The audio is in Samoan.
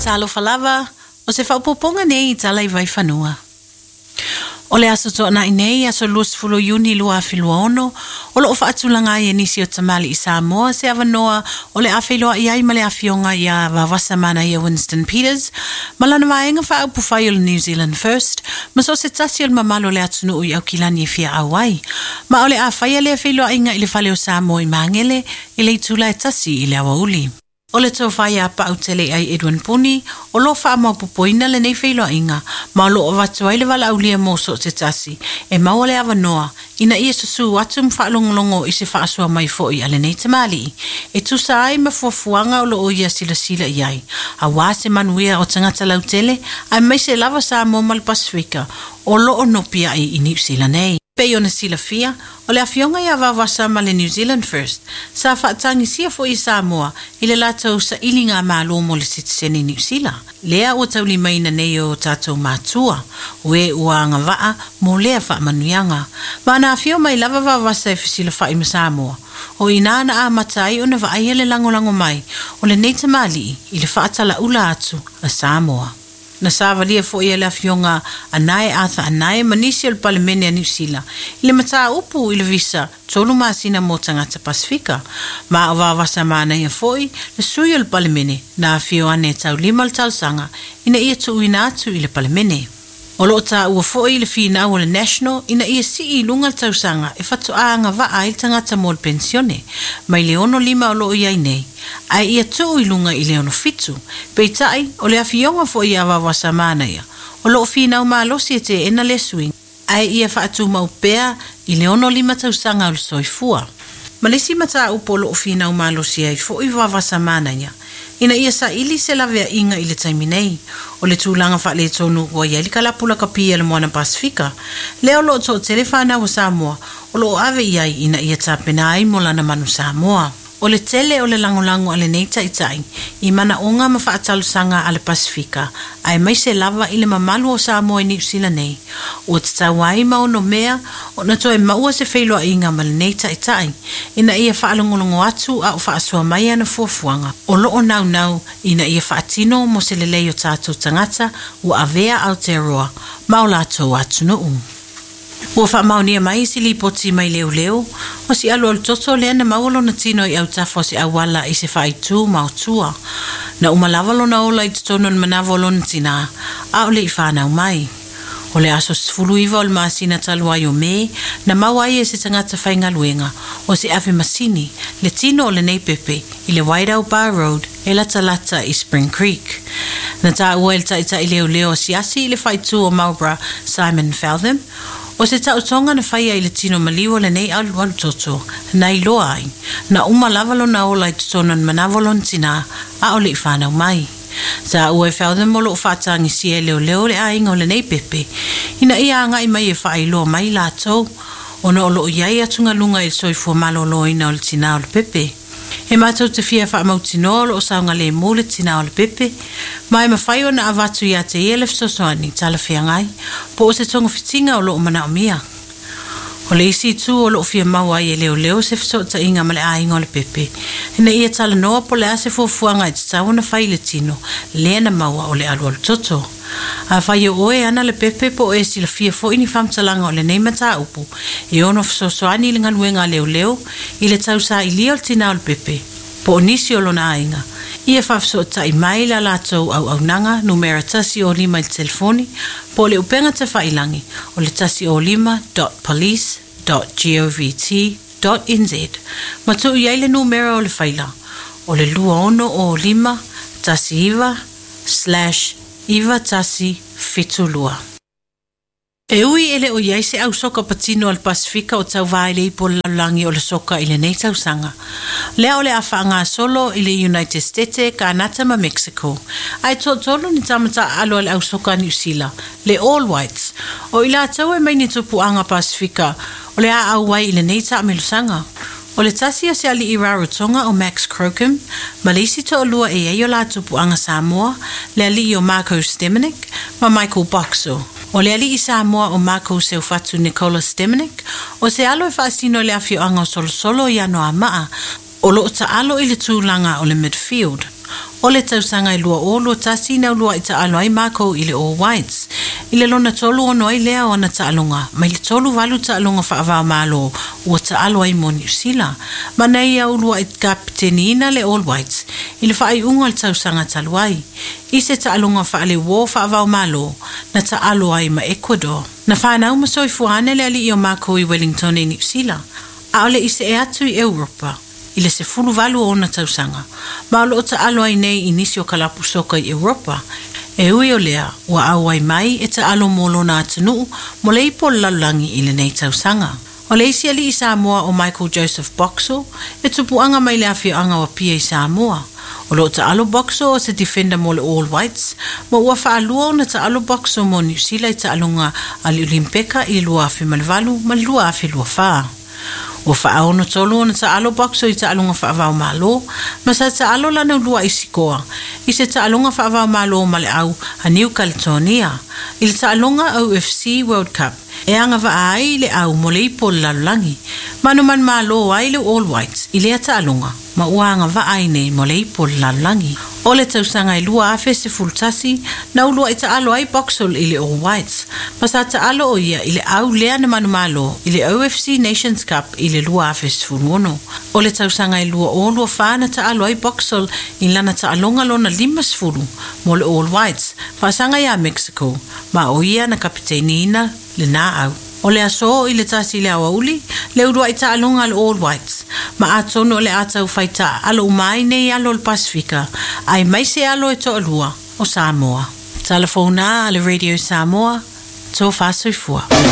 Talofa lava, o se faaopoopoga nei i tala i Vaifanua. O le Aso Toonai nei, aso 20 Iuni 2026, o loo faatulaga ai e nisi o tamalii Samoa se avanoa o le a feiloai ai ma le afioga ia Vaovasa Manaia Winston Peters ma lana vaega faaupufai o le New Zealand First ma so o se tasi o le mamalu o le atunuu i Aukilani e fia auai. Ma o le a faia lea feiloaiga i le fale o Samoa i Magele i le itula e 1 i le aoauli. O le tofa ia Pa'u-telei'ai Edwin Puni o lo o faamaopopoina lenei feiloaiga ma o lo o avatu ai le valaaulia mo so o se tasi e maua le avanoa ina ia susū atu ma faalogologo i se faasoa mai foi a lenei tamalii e tusa ai ma fuafuaga o lo o ia silasila i ai aua se manuia o tagata lautele aemaise lava Samoa ma le Pasefika o lo o nopiai i Niu Sila nei. Pei ona silafia, o le afioga ia Vaovasa ma le New Zealand First, sa faatagisia foi e Samoa i le latou sailigamalo mo le sitiseni Niu Sila, lea ua taulimaina nei e o tatou matua, o e ua agavaa mo lea faamanuiaga. Ma ana afio mai lava Vaovasa e fesilafa'i ma Samoa, o i ina na amata ai ona vaaia le lagolago mai o lenei tamalii i le faatala'ula atu a Samoa. Na savalia foi e le afioga Anae Arthur Anae ma nisi o le Palemene a Niu Sila i le mataupu i le visa 3 masina mo tagata Pasefika, ma o Vaovasa Manaia foi le sui o le Palemene na afio ane e taulima le talosaga ina ia tuuina atu i le Palemene. O lo o taua foi i le finau o le National ina ia sii i luga le tausaga e faatoa agavaa ai le tagata mo le penisione, mai le 65 o lo o i ai nei, ae ia tuu i luga i le 67. Peitai, o le afioga foi ia Vaovasa Manaia, o lo o finau malosi e teena lea suiga, ae ia faatumau pea i le 65 tausaga o le soifua. Ma le isi mataupu o lo o finau malosi ai foi Vaovasa Manaia, ina ia saili se laveaiga i le taimi nei, o le tulaga faaletonu ua i ai le kalapu lakapi a le Moana Pasefika, lea o lo o toatele fanau a Samoa o lo o ave i ai ina ia tapena ai mo lana manu Samoa. O le tele o le lagolago a lenei taitai i manaoga ma faatalosaga a le Pasefika, aemaise lava i le mamalu o Samoa i Niu Sila nei, ua tatau ai ma onomea ona toe maua se feiloaiga ma lenei taitai ina ia faalogologo atu a o faasoa mai ana fuafuaga o lo o naunau ina ia faatino mo se lelei o tatou tagata ua avea Aotearoa ma o latou atunuu. Ua faamaonia mai se lipoti mai leoleo, o se alualu toto lea na maua lona tino i autafa o se auala i se faaitu maotua. Na uma lava lona ola i totonu o le manava o lona tinā, a o le i fanau mai. O le aso 19 o le masina talu ai o Me, na maua ai e se tagata faigaluega o se ave masini le tino o lenei pepe i le Wairau Bar Road e latalata i Spring Creek. Na taua e le taitai leoleo asiasi i le faaitu o Marlborough Simon Feltham, o se taotoga na faia i le tino maliu o lenei alualu toto, na iloa ai, na uma lava lona ola i totonu o le manava o lona tinā, a o le i fanau mai. Taua e Feltham o lo o faatagisia e leoleo le aiga o lenei pepe, ina ia agai mai e faailoa mai latou, ona o lo o i ai atugaluga i le soifua maloloina o le tinā o le pepe. E matou te fia faamautinoa o lo o saogalemu le tinā o le pepe, ma e mafai ona avatu ia te ia le fesoasoani talafeagai po o se togafitiga o lo o manaomia. O le isi itu o lo o fia maua ai e leoleo se fesootaiga ma le aiga o le pepe, ina ia talanoa po o le a se fuafuaga e tatau ona fai i le tino lea na maua o le alualu toto. Afai o oe e ana le pepe po o e silafia foi ni faamatalaga o lenei mataupu e ono fesoasoani i le galuega a leoleo i le tausailia o le tinā o le pepe po o nisi o lona aiga, ia faafesootai mai la latou auaunaga numera 105 i le telefoni po o le upega tafailagi o le 105 dot police dot govt dot nz ma tuu i ai le numera o le faila o le 2605 19 slash 9172. E ui e le o i ai se au soka patino a le Pasefika o tauvā i le Ipu o le Lalolagi o le Soka i lenei tausaga, lea o le a faagasolo i le United Stete, Kanata ma Mexico. Ae toatolu ni tama taaalo a le au soka a Niu Sila, le All Whites, o i latou e mai ni tupuaga Pasefika o le a auai i lenei taamelosaga. O le tasi o se alii Rarotonga o Max Crocombe, ma le isi toalua e i ai o la tupuaga Samoa, le alii o Marko Stamenic ma Michael Boxall. O le alii Samoa o Marko Seufatu Nikola Stamenic, o se alo e faasino i le afioaga o Solosolo i Anoamaa, o lo o taalo i le tulaga o le midfield. O le tausaga e 2021 na uluai taalo ai Mako i le All Whites. I le lona 36 ai lea o ana taaloga mai le 38 taaloga faava-o-Malo ua taalo ai mo Niu Sila. Ma na ia uluai kapiteniina le All Whites i le faaiuga o le tausaga talu ai. I se taaloga faaleuo faava-o-Malo na taalo ai ma Ecuador. Na fanau ma soifua ane le alii o Mako i Wellington i Niu Sila, a o le i see atu i Europa i le 18 o ona tausaga, ma o loo taalo ai nei i nisi o kalapu soka i Europa. E ui o lea, ua auai mai e taalo mo lona atunuu mo le ipo o le lalolagi i lenei tausaga. O le isi alii Samoa o Michael Joseph Boxall, e tupuaga mai le afioaga o Apia i Samoa. O loo taalo Boxall o se defender mo le All Whites, ma ua faalua ona taalo Boxall mo Niu Sila i taaloga a le Olimpeka i le 2008 ma le 2024. Ua faaono tolu ona taalo Boxall i taaloga faava-o-Malo, ma sa taalo lana uluai sikoa i se taaloga faava-o-Malo ma le au a New Caledonia i le taaloga OFC World Cup e agavaa ai le au mo le ipo o le lalolagi. Manumanu ai le All Whites i lea taaloga ma ua agavaa ai nei mo le ipo o le lalolagi. O le tausaga e 2011 na uluai taalo ai Boxall i le All Whites, ma sa taalo o ia i le au lea na manumalo i le OFC Nations Cup i le 2016. O le tausaga e 2024 na taalo ai Boxall i lana taaloga lona 50 mo le All Whites faasaga ia Mexico, ma o ia na kapiteiniina lena au. O le aso i le 1 le aoauli, le uluai taaloga le All Whites, ma atonu o le a taufai taaalo uma ai nei alo o le Pasifika, aemaise alo e toalua o Samoa. Tala fou na a le Radio Samoa, tofa soifua.